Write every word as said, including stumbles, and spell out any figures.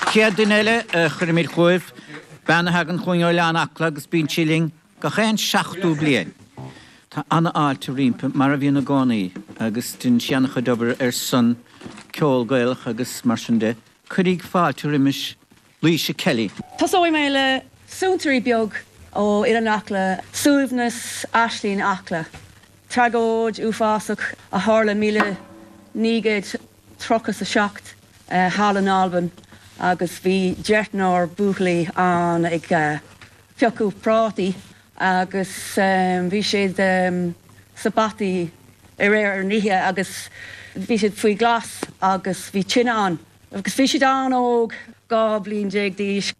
Chéad duine eile a chuirfimid chugaibh, bean a thagann chugainn ó Oileán Acla agus bíonn sí linn gach aon seachtú bliain. Tá an-fháilte roimpi mar a bhíonn i gcónaí agus déanann sí an-chuid obair ar son ceol Gaelach agus mar sin de. Cuiríg fáilte roimis Laoise Kelly. Tosóidh mé le suantraí beag ó Oileán Acla, Suaimhneas Aislinn Acla. Tragóid uafásach a tharla míle naoi gcéad tríocha a seacht thall in Albain agus bhí deichniúr buachaillí ann ag piocadh prátaí agus bhí siad sa bhfataí aréir ar an oíche agus bhí siad faoi ghlas agus bhí tine ann. Agus bhí siad an-óg, dhá bliain déag d'aois.